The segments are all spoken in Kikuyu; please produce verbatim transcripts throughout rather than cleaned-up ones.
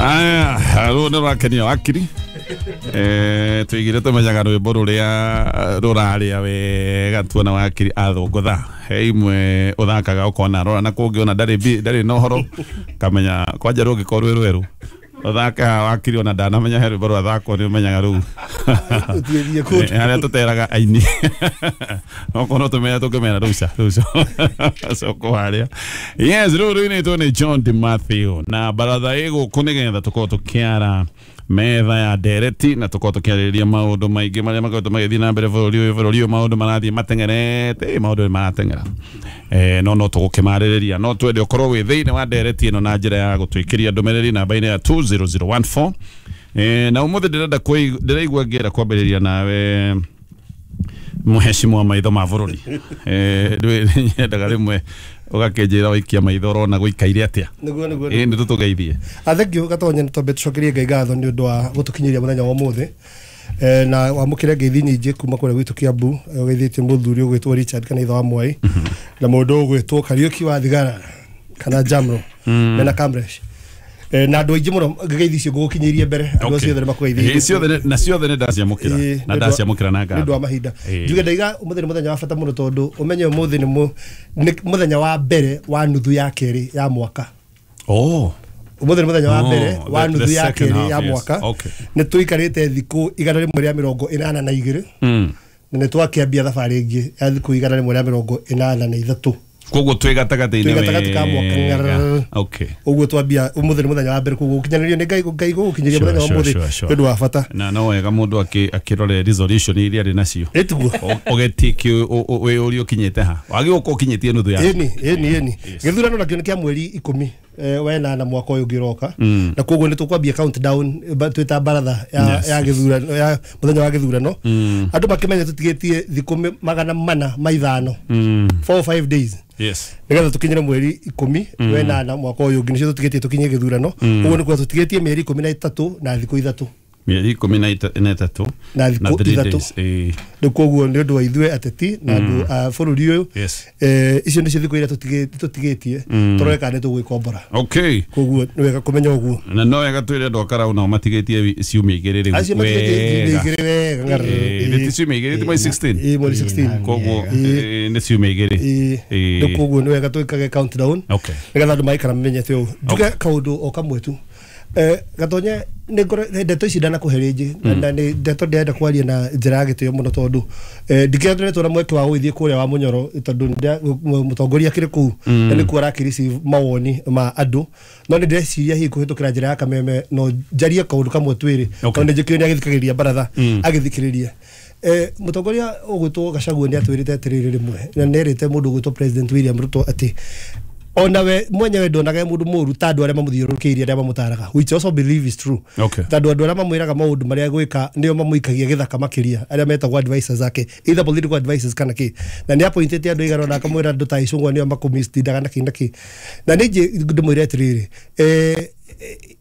Aya, rũu nĩ rũrakenia wakiri. Eh, tuigire tumenyaga rwĩmbo rũrĩa rũrarĩa wega tuona wakiri athũngũtha. He imwe ũthakaga ũkona rora na kũngĩ ona ndarĩ bi- ndarĩ na ũhoro kamenya kwanja rũngĩkorwo rwĩ rwerũ ũthake haha wakiri ona ndanamenya he rwĩmbo rwathakwo nĩ ũmenyaga rũu Ũthiĩ kũndũ. Eh, harĩa tũteraga aini okorwo tũmenya tũngĩmera rũu ca rũu coko harĩa. Yes, rĩu rũinĩtwo nĩ John de Matthew na baratha ĩ gũkũ nĩgetha tũkorwo tũkĩara metha ya ndereti na tũkorwo tũkĩarĩrĩria maũndũ maingĩ marĩa makoretwo magĩthiĩ na mbere bũrũri ũyũ. Bũrũri ũyũ maũndũ marathiĩ mateng'erete, ĩ, maũndũ nĩ marateng'era, eh, no no tũgũkĩmarĩrĩria. No twende ũkorwo wĩ thĩinĩ wa ndereti ĩno na njĩra ya gũtwĩkĩria ndũmĩrĩri namba-inĩ ya two zero zero one four. Eh, na ũmũthĩ ndĩrenda kwĩ- ndĩraigua ngĩenda kwambĩrĩria nawe mũhecimu wa maitho ma bũrũri. Eh, ndĩ- nyendaga rĩmwe ũgakĩnjĩra waikia maitho ũrona gũikaire atĩa. Nĩguo, nĩguo. Ĩ nĩ tũtũgeithie. Ah, thank you Gatonya, nĩ twambe tũcokerie Ngai ngatho nĩ ũndũ wa gũtũkinyĩria mũthenya wa ũmũthĩ. Eh, na wamũkĩre ngeithi nyingĩ kuma kũrĩa gwitũ Kiambu, eh, ũgeithĩtie mũthuri ũgwĩtwo Richard kana ithe wa Mwai na mũndũ ũgwĩtwo Kariũki wa Thigara kana Jamro mena Kamresh. Eh, na andũ aingĩ mũno ngeithi icio ngũgũkinyĩirie mbere andũ acio othe nĩ makũgeithĩirie. Ĩ, ciothe nĩ- na ciothe nĩ ndaciamũkĩra Ĩ, na nĩ ũndũ wa- ndaciamũkĩra na nĩ ũndũ wa ngatho. mahinda. Ĩ. Njuge ndaiga ũmũthĩ nĩ mũthenya wa bata mũno tondũ ũmenye ũmũthĩ nĩ mũ- nĩ mũthenya wa mbere wa nuthu ya kerĩ ya mwaka. Oh. Ũmũthĩ nĩ mũthenya wa Oh, mbere wa the- nuthu the ya second kerĩ half, ya yes. mwaka. Okay. Nĩ tũikarĩte thikũ igana rĩmwe rĩa mĩrongo ĩnana na igĩrĩ Mm. na nĩ twakĩambia thabarĩ ĩngĩ ya thikũ igana rĩmwe rĩa mĩrongo ĩnana na ithatũ. Koguo twĩ gatagatĩ-inĩ Twĩ gatagatĩ ka mwaka. wega. Ngarara. Okay. Ũguo twambia ũmũthĩ nĩ mũthenya wa mbere, koguo gũkinyanĩrio nĩ Ngai Ngai gũgũkinyĩria Sure, mũthenya wa sure, ũmũthĩ sure, sure. nĩ ũndũ wa bata. Na no wega mũndũ akĩ- akĩrore resolution iria arĩ nacio. Ĩtiguo. Ũgetiki wĩyũrie ũkinyĩte ha wagĩ gũkorwo ũkinyĩtie nuthu ya Ĩni, ĩni, ĩni. Gĩthurano nakĩo nĩ kĩa mweri ikũmi eh, wa ĩnana mwaka ũyũ ũngĩ ũroka, na koguo nĩ tũkwambia countdown ba- twĩta baratha ya, Yes, ya gĩthurano ya mũthenya wa gĩthurano. Andũ makĩmenye tũtigĩtie thikũ mĩ- magana mana ma ithano, four or five days, Yes. nĩgetha tũkinyĩre mweri ikũmi wa ĩnana mwaka ũyũ ũngĩ, nĩcio tũtigĩtie tũkinye gĩthurano. Ũguo nĩ kuga tũtigĩtie mĩeri ikũmi na ĩtatũ na thikũ ithatũ. Mĩeri ikũmi na ita- na ĩtatũ Na thikũ three ithatũ. days. Ĩ. Rĩu koguo nĩ ũndũ wa ithuĩ ateti na andũ a bũrũri ũyũ, Yes. eh, icio nĩcio thikũ iria tũtigĩ- tũtigĩtie tũrore kana nĩ tũgwĩkombora. Okay. Koguo nĩ wega kũmenya ũguo. Na no wega twĩre andũ a Karau nao matigĩtie wi- ciumia igĩrĩ rĩu. Acio matigĩtie ciumia Wega. igĩrĩ wega ngarara. Ĩ, nĩ ti ciumia igĩrĩ, ti mweri sixteen? Ĩ, mweri sixteen. Koguo Ĩ. ĩ, nĩ ciumia igĩrĩ. Ĩ, Ĩ. rĩu koguo nĩ wega twĩkage countdown Okay. nĩgetha andũ maikara mamenyete ũũ. Njuge kaũndũ o kamwe tu. Eh, Gatonye, nĩ ngore ndeto ici ndanakũhe rĩngĩ na nĩ ndeto ndĩrenda kwaria na njĩra ya gĩtĩo mũno tondũ eh, ndikĩretwo na mweke wa gũgĩthiĩ kũrĩa wa Mũnyoro tondũ ndĩa- mũtongoria akĩrĩ kũu na nĩkuo arakĩreceive mawoni ma andũ, no nĩ ndĩreciria hihi kũhĩtũkĩra njĩra ya kameme no njarie kaũndũ kamwe twĩrĩ Okay. tondũ nĩ njĩkĩrĩ nĩ agĩthikagĩrĩria baratha agĩthikĩrĩria. Eh, mũtongoria ũgwĩtwo Gachagua nĩ atwĩrĩte atĩrĩrĩ rĩmwe na nĩ erĩte mũndũ ũgwĩtwo President William Ruto atĩ ona we mwenyewe ndonaga e mũndũ mũru ta andũ arĩa mamũthiũrũrũkĩirie, arĩa mamũtaraga, which I also believe is true, Okay. tondũ andũ arĩa mamwĩraga maũndũ marĩa gwĩka nĩo mamũikagia gĩthaka makĩria, arĩa metagwo advisors ake, either political advisors kana kĩ, na nĩ appointĩte andũ aigana ũna akamwĩra andũ ta Icũng'wa nĩo makũmistindaga na kĩ na kĩ. Na nĩ njĩ ndĩmwĩre atĩrĩrĩ, eh,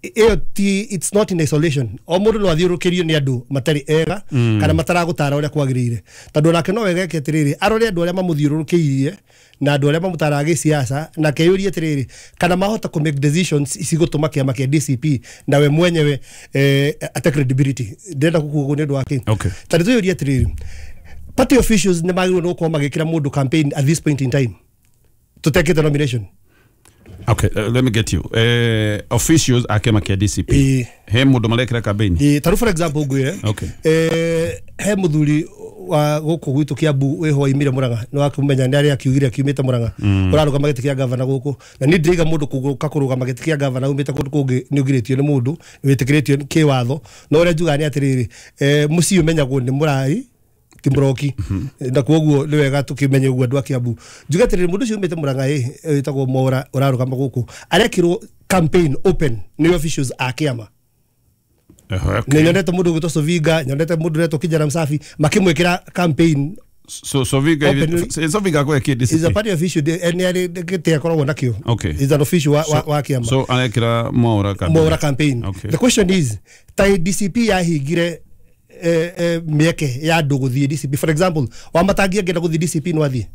ĩyo ti, it's not in isolation. O mũndũ no athiũrũrũkĩrio nĩ andũ matarĩ ega kana mataragũtara ũrĩa kwagĩrĩire, tondũ onake no wega eke atĩrĩrĩ, arore andũ arĩa mamũthiũrũrũkĩirie na andũ arĩa mamũtaraga gĩsiasa na keyũrie atĩrĩrĩ kana mahota kũ make decisions cigũtũma kĩama kĩa D C P na we mwenyewe eh, ate credibility. Ndĩrenda gũkuga ũguo nĩ ũndũ wa kĩ? Okay. Ta nĩ tũyũrie atĩrĩrĩ, party officials nĩ magĩrĩirwo nĩ gũkorwo magĩkĩra mũndũ campaign at this point in time tũtekĩte nomination? Okay, uh, let me get you. Eh, officials a kĩama kĩa D C P. Ĩ. He mũndũ marekĩra campaign? Ĩ, ta rĩu for example ngwĩre, Okay. eh, he mũthuri wa gũkũ gwitũ Kiambu wĩho waimire Mũrang'a, nĩ wakũmenya nĩ arĩa akiugire akiumĩte Mũrang'a, ũrarũgama gĩtĩ kĩa gavana gũkũ, na niĩ ndĩraiga mũndũ kũgũka kũrũgama gĩtĩ kĩa gavana umĩte kũndũ kũngĩ nĩ ũgirĩtio nĩ mũndũ, nĩ wĩtĩkĩrĩtio kĩwatho, no ũrĩa njugaga nĩ atĩrĩrĩ, eh, mũciĩ ũmenyagwo nĩ mũrari ti mũroki, na koguo nĩ wega tũkĩmenye ũguo andũ a Kiambu. Njuge atĩrĩrĩ, mũndũ ũcio umĩte Mũrang'a ĩ wĩtagwo Mwaũra ũrarũgama gũkũ arekĩrwo campaign open nĩ officials a kĩama. Okay. Nĩ nyonete mũndũ ũgwĩtwo Sovinga, nyonete mũndũ ũretwo Kijana Msafi makĩmwĩkĩra campaign. So Sovinga Openly- Sovinga kwa kĩ Is a D C P? party official, nĩ arĩ gĩtĩ akoragwo nakĩo. Okay. Is an official wa, wa, wa kĩama. So arekĩra Mwaũra campaign. Mwaũra campaign. Okay. The question is, ta D C P yahingire eh, eh, mĩeke ya andũ gũthiĩ D C P, for example Wamatangi angĩenda gũthiĩ D C P no athiĩ?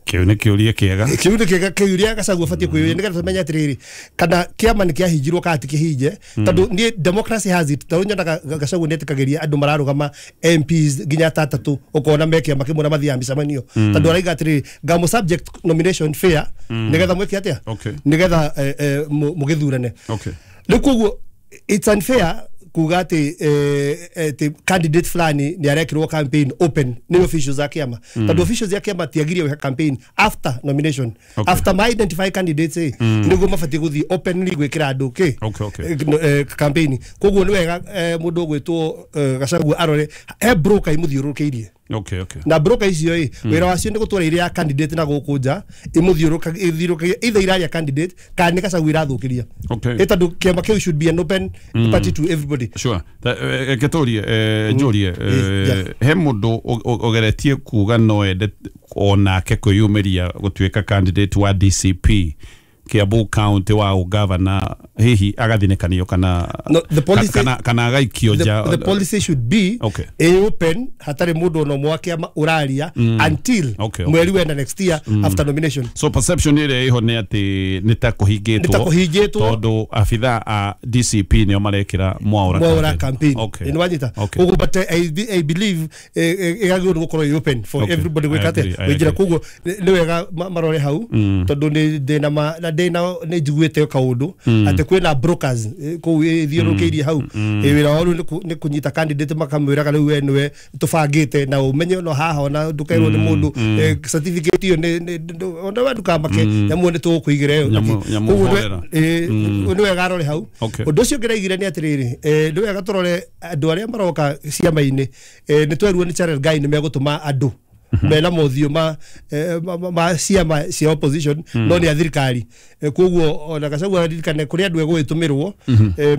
Kiu nä kä å ria kä ega. Kiu nä kä ria Gachagua batiĩ kwĩyũria nĩgetha tũmenye atĩrĩrĩ kana kĩama nĩ kĩahinjirwo kana ti kĩhinje, tondũ niĩ democracy has it. Tondũ nyonaga Gachagua nĩ etĩkagĩria andũ mararũgama M Ps nginya atatũ, ũkona me kĩama kĩmwe na mathiaga mĩcemanio, tondũ araiga atĩrĩrĩ ngamũ subject nomination fair nĩgetha mwĩke atĩa, nĩgetha mũgĩthurane. Rĩu koguo it's unfair kuga atĩ atĩ candidate fulani nĩ arekĩrwo campaign open nĩ officials a kĩama, tondũ officials a kĩama tiagirie gwĩka campaign after nomination. Okay. After ma identify candidates eh nĩguo mabatiĩ gũthiĩ openly gwĩkĩra andũ kĩ okay, okay. campaign. Koguo nĩ wega mũndũ ũgwĩtwo Gachagua arore he broker imũthiũrũrũkĩirie. Okay, okay. Na broker icio ĩ wĩra wacio nĩ gũtwara iria candidate na gũkũ nja imũthiũrũrũkagia either iraria candidate kana nĩ Gachagua irathũkĩria. Okay. Ĩ tondũ kĩama kĩu should be an open mm. party to everybody. Sure. Reke tũrie njũrie he mũndũ ũgeretie kuga no ende onake kwĩyumĩria gũtuĩka candidate wa D C P Kiambu County wa ũgavana, hihi agathinĩkanio kana no, the policy, kana kana agaikio nja. The policy should be okay. A open hatarĩ mũndũ ona ũmwe wa kĩama ũraria mm. until okay, okay. mweri wena next year mm. after nomination. So perception ĩrĩa ĩho nĩ atĩ nĩ ta kũhingĩtwo, nĩ ta kũhingĩtwo tondũ abithaa a D C P nĩo marekĩra Mwaura Mwaura campaign. Okay. Nĩ wanyita. Okay. Koguo but I, I believe ĩgagĩrĩirwo nĩ gũkorwo ĩ open for okay. everybody gwĩka atĩa wĩnjĩra. Koguo nĩ wega marore hau tondũ nĩ ndĩna ma na ndĩna nĩ njiguĩte kaũndũ atĩ kwĩna brokers kũu ĩthiũrũrũkĩirie hau, wĩra wao rĩu nĩ kũnyita candidate makamwĩraga rĩu we nĩwe tũbangĩte na ũmenye no haha ona ndũkerwo nĩ mũndũ certificate ĩyo ona we ndũkamake nyamũ nĩ tũgũkũigĩra ĩyo. Koguo nĩ wega arore hau. Ũndũ ũcio ũngĩ ndaigire nĩ atĩrĩrĩ, nĩ wega tũrore andũ arĩa maroka ciama-inĩ. Nĩ twerwo nĩ Charles Guy nĩ megũtũma andũ mena mothiũ ma ma ciama cia opposition no nĩ a thirikari. Koguo ona Gachagua aririkane kũrĩ andũ egũgĩtũmĩrwo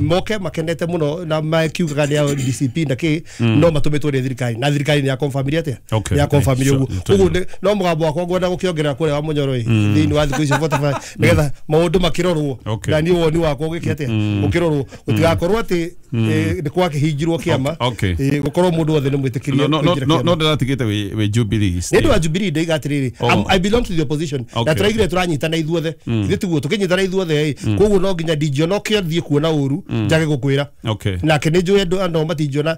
moke makenete mũno na makiugaga nĩ a D C P na kĩ, no matũmĩtwo nĩ thirikari na thirikari nĩ ya confirm atĩa, nĩ ya confirm ũguo. Koguo no mũgambo wakwa ngwenda gũkĩongerera kũrĩa wa Mũnyoro ĩ thĩinĩ wa thikũ icio forty-five nĩgetha maũndũ makĩrorwo, na niĩ woni wakwa ũgĩke atĩa ũkĩrorwo, gũtigakorwo atĩ nĩ gwakĩhingirwo kĩama, gũkorwo mũndũ wothe nĩ mwĩtĩkĩrie. No ndĩratigĩte wĩ Jubilee. Nĩ ndũ wa Jubilee ndaiga atĩrĩrĩ I belong to the opposition na tũraigire tũranyitana ithuothe, ithuĩ tiguo tũkĩnyitana ithuothe ĩ, koguo no nginya ndingĩona ũkĩthiĩ kuona ũru njage gũkwĩra. Nake nĩ njũĩ andũ andũ matingĩona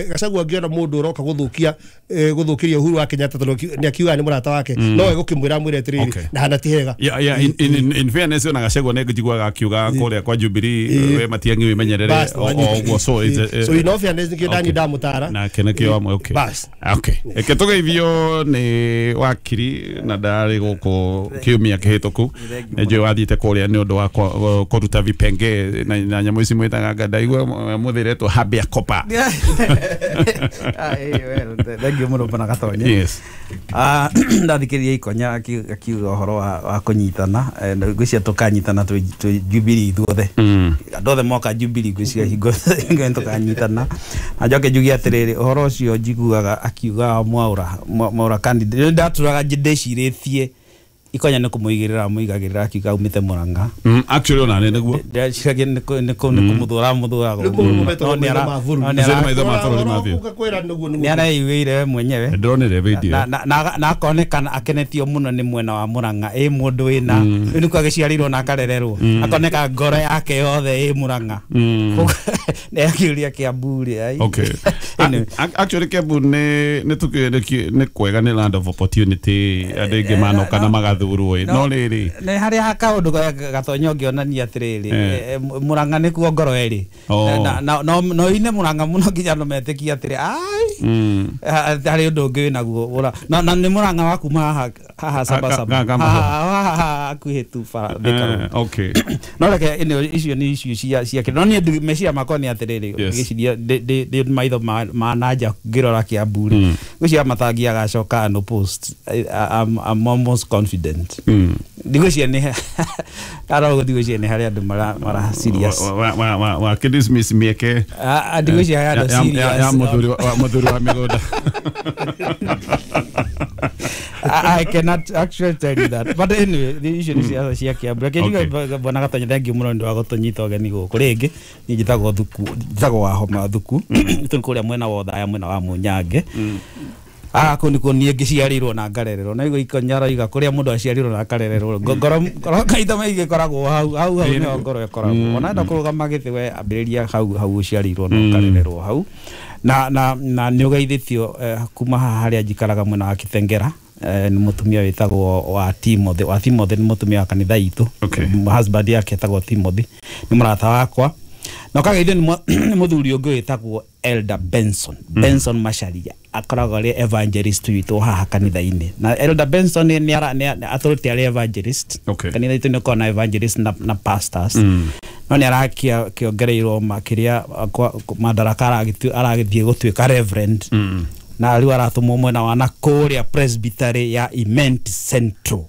Gachagua angĩona mũndũ ũroka gũthũkia gũthũkĩria Uhuru wa Kenyatta tondũ nĩ akiuga nĩ mũrata wake, no egũkĩmwĩra amwĩre atĩrĩrĩ na hana ti hega. Yeah, in in in fairness ona Gachagua nĩ njiguaga akiuga kũrĩa kwa Jubilee we Matiang'i wĩmenyerere o ũguo, so so in all fairness nĩkĩo ndani ndamũtara nake nĩkĩo amwe. Okay. Okay. Reke tũgeithio nĩ wakiri na ndarĩ gũkũ kiumia kĩhĩtũku, nĩ njũĩ wathiĩte kũrĩa nĩ ũndũ wa kũruta vipenge na nyamũ ici mwĩtaga nga ndaigua mũthĩretwo habia kopa. Thengiũ mũno bwana Gatonye. Yes. Ndathikĩrĩria Ikonya akiuga ũhoro wa kũnyitana, ngwĩciria tũkanyitana twĩ Jubilee ithuothe, andũ othe moka Jubilee ngwĩciria hingo hingo tũkanyitana. Na njoke njuge atĩrĩrĩ, ũhoro ũcio njiguaga akiuga Mwaura Mwaura candidate ndatũraga ndĩcirĩtie Ikonya nĩ kũmũigĩrĩra amũigagĩrĩra akiuga aumĩte Murang'a. Actually ona nĩ nĩguo ndĩreciria nĩ kũmũthũra amũthũraga, nĩ areiguĩire we mwenyewe, ndĩronire video na akonekana akenetio mũno nĩ mwena wa Murang'a, ĩ mũndũ wĩna rĩu nĩkuo agĩciarĩirwo na akarererwo, akoneka ngoro yake yothe ĩ Murang'a. Nĩ akĩũria Kiambu rĩ. Okay. Actually Kiambu nĩ nĩ kwega, nĩ land of opportunity, andũ aingĩ manoka na magathurwo ĩ, no rĩrĩ nĩ harĩa kaũndũ Gatonye ũngĩonania atĩrĩrĩ, Murang'a nĩkuo ngoro ĩrĩ, no ine Murang'a mũno nginya andũ metĩkie atĩrĩ ai harĩ ũndũ ũngĩ wĩnaguo, na nĩ Murang'a wa kuma haha haha Sabasaba haha hakuhĩ tu bara Thika Road. Okay. No reke icio nĩ icio cia cia no niĩ meciria makwa nĩ atĩrĩrĩ, ngĩciria ndĩ maitho ma nanja ngĩrora Kiambu rĩ, ngwĩciria Matangi agacoka unopposed. I'm I'm almost confident. Ndigwĩciria nĩ arauga ndigwĩciria nĩ harĩ andũ mara mara serious wa wa wa wa kidismiss mĩeke ndigwĩciria harĩ andũ serious ya mũthuri wa mũthuri wa mĩgũnda. I cannot actually tell you that. But anyway, the issue is cia cia Kiambu. Reke njuge bwana Gatonye, thank you mũno nĩ ũndũ wa gũtũnyita ũgeni gũkũ rĩngĩ. Niĩ njĩtagwo Thuku, njĩtagwo Wahoma Thuku. Tũrĩ kũrĩa mwena wa Othaya, mwena wa Mũnyange. Ah kå nä kå niä ngä ciarä na ngarererwo na igå ikonyara iga kå rä a må ndå aciarirwo na akarererwo ngoro ngoro kaita maingä koragwo hau hau hau nä ngoro ĩkoragwo ona enda kå rå gama gä tä we ambä rä ria hau hau å ciarĩirwo na ũkarererwo hau na na na nä å geithĩtio kuma haha harĩa njikaraga mwena wa Kitengera nä mũtumia wĩtagwo wa Timothy wa Timothy nĩ mũtumia wa kanitha itũ. Okay. Husband yake etagwo Timothy nĩ mũrata wakwa na ũkageithio nĩ mũthuri ũngĩ wĩtagwo Elder Benson Benson Macharia akoragwo arĩ evangelist witũ haha kanitha-inĩ na Elder Benson nĩ atũrĩte arĩ evangelist. Okay. Kanitha itũ nĩ ũkoragwo na evangelist na, na pastors no nĩ arakĩongereirwo makĩria madaraka aragĩthiĩ gũtuĩka reverend na rĩu aratũmwo mwena wa na kũrĩa presbytery ya Imenti Central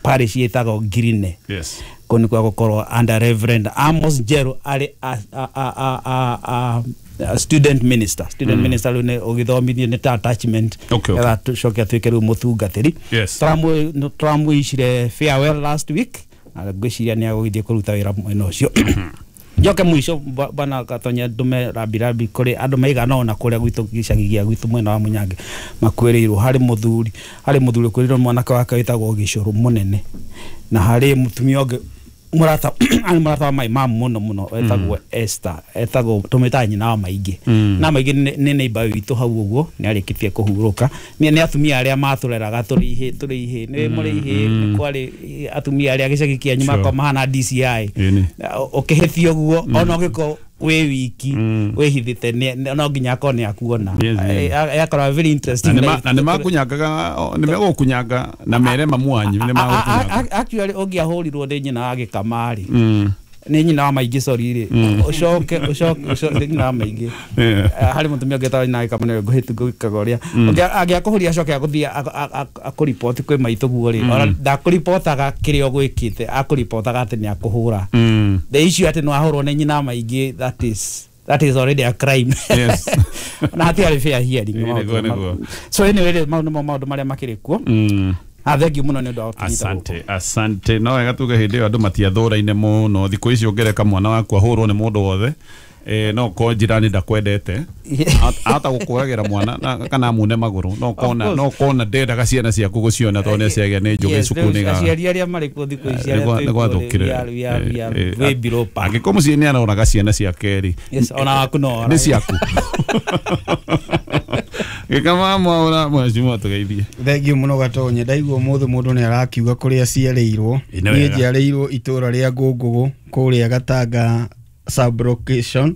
parish ĩtagwo Ngirine. Yes. Kũu nĩkuo gũkorwo under Reverend Amos Njeru arĩ a, a, a, a, a, a, a student minister student mm. minister rĩu nĩ ũgĩthomithio nĩ ta attachment. Okay, okay. Getha tũcoke atuĩke rĩu mũtungatĩri. Yes. Tũramwĩicire farewell last week na ngwĩciria nĩ agũgĩthiĩ kũruta wĩra mwena ũcio. Njoke mũico bwana Gatonya ndume rambirambi kũrĩ andũ maigana ũna kũrĩa gwitũ gĩcagi gĩa gwitũ mwena wa Munyange makuĩrĩirwo. Harĩ mũthuri harĩ mũthuri ũkuĩrĩirwo mwanake wake wĩtagwo Gĩcũrũ mũnene na harĩ mũtumia ũngĩ mũrata arĩ mũrata wa my mum mũno mũno etagwo Esther etagwo tũmĩtaga nyina wa maingĩ na maingĩ nĩ neighbor witũ hau ũguo nĩ arĩkĩtie kũhurũka. Nĩ atumia arĩa matũreraga tũrĩ ihĩ tũrĩ ihĩ nĩ mũrĩ ihĩ nĩ kwarĩ atumia arĩa gĩcagi kĩanyu makwa mahana D C I ũkĩhĩtia ũguo ona ũngĩkorwo wĩ wiki wĩhithĩte no nginya akorwo nĩ akuona yakorwo very interesting na nĩ makunyangaga nĩ megũkunyanga na mere mamu wanyu nĩ magũkunyanga. Actually ũngĩahũrirwo nĩ nyina wa gĩkamarĩ nĩ nyina wa maingĩ sorry rĩ ũcoke ũcoke nĩ nyina wa maingĩ harĩ mũtumia ũngĩ etagwo nyina wa gĩkama nĩwe ngũhĩtu ngũgĩkaga ũrĩa angĩakũhũria acoke agũthiĩ akũriboti kwĩ maitũ guo rĩ ona ndakũribotaga kĩrĩa ũgwĩkĩte akũribotaga atĩ nĩ akũhũra. The issue atĩ nĩ wahũrwo nĩ nyina wa maingĩ that is that is already a crime. Yes. Na hatiarĩ fair hearing. So anyway maũndũ maũndũ marĩa makĩrĩ kuo. Ah, thank you muno nĩ ũndũ wa gũtũnyita. Asante, asante. No wega tuge hĩndĩ ĩyo andũ matiathũraine mũno. Thikũ ici ũngĩreka mwana waku ahũrwo nĩ mũndũ wothe eh no ko jirani ndakwendete ahota gũkũragĩra mwana kana amune magũrũ no kona no kona ndendaga ciana ciaku gũciona tondũ nĩ ciagĩa nĩ njũgĩ cukuru nĩ aciari arĩa marĩ kuo thikũ ici arĩa nĩ gwathũkire angĩkorwo mũciĩ nĩ aroraga ciana ciake rĩ ona waku no nĩ ciaku. Gĩkama mwaura mheshimiwa tũgeithie. Thank you mũno Gatonye. Ndaigua ũmũthĩ mũndũ nĩ arakiuga kũrĩa aciarĩirwo. Niĩ njiarĩirwo itũra rĩa Ngũngũgũ kũrĩa Gatanga sub location.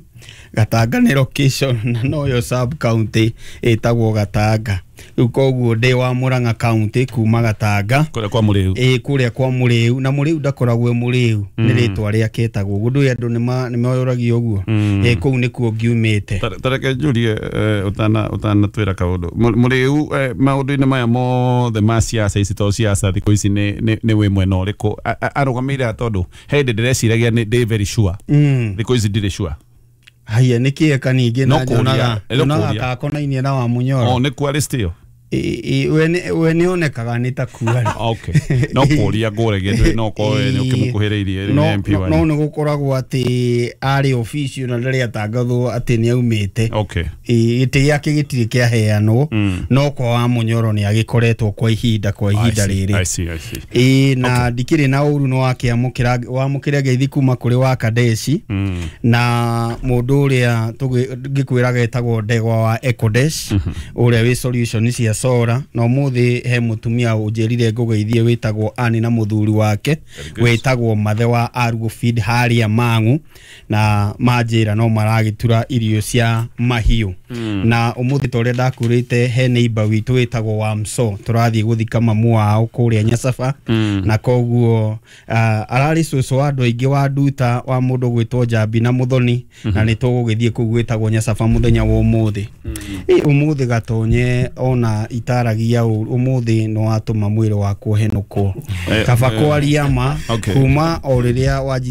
Gatanga nĩ location na noyo sub county ĩtagwo Gatanga. Rĩu koguo ndĩ wa Murang'a county kuma Gatanga kũrĩa kwa Mũrĩu. Ĩĩ kũrĩa kwa Mũrĩu na Mũrĩu ndakoragwo e Mũrĩu nĩ rĩtwa rĩake etagwo ũguo ndũĩ andũ nĩ moyũragia ũguo. Ĩĩ kũu nĩkuo ngiumĩte. Tareke njurie ũtana ũtanatwĩra kaũndũ Mũrĩu maũndũ-inĩ maya mothe ma siasa ici to siasa thikũ ici nĩ nĩ wĩ mwena ũrĩkũ arũgamĩire tondũ he hĩndĩ ndĩreciragia nĩ ndĩ very sure thikũ ici ndirĩ sure. Haya nĩ kĩeka ningĩ na njonaga njonaga kakonainie na wa Munyoro. O nĩ kwa list ĩyo we nĩ onekaga nĩ ta kuarĩ. Okay. No kũria ngũragia ndũĩ no korwo nĩ ũkĩmũkuhĩrĩirie nĩ M P wanyu. No nĩ gũkoragwo atĩ arĩ official na ndarĩ atangathwo atĩ nĩ aumĩte. Okay. Gĩtĩ gĩake gĩtirĩ kĩaheanwo no kwa wa Munyoro nĩ agĩkoretwo kwa ihinda kwa ihinda rĩrĩ. I see, I see. Ĩĩ na ndikĩrĩ na ũru nĩ wakĩamũkĩra wamũkĩra ngeithi kuma kũrĩ wa Kadeshi na mũndũ ũrĩa ngĩkwĩraga etagwo Ndegwa wa Ecodesh ũrĩa wĩ solution cia Sora na ũmũthĩ he mũtumia ũnjĩrire ngũgeithie wĩtagwo Ani na mũthuri wake wĩtagwo Mathe wa Argo Feed harĩa Mang'u na manjĩra no maragĩtura irio cia mahiũ na ũmũthĩ ta ũrĩa ndakwĩrĩte he neighbor witũ wĩtagwo Wamso tũrathiĩ gũthika mamu wao kũrĩa Nyacaba na koguo ararĩ cũcũ wa andũ aingĩ wa nduta wa mũndũ gwĩtwo Njambi na Mũthoni na nĩ tũgũgĩthiĩ kũu gwĩtagwo Nyacaba mũthenya wa ũmũthĩ. Ĩ ũmũthĩ Gatonye ona itaragia ũmũthĩ no atũma mwĩrĩ wakwo henũkwo kaba kwaria ma kuma o rĩrĩa wanji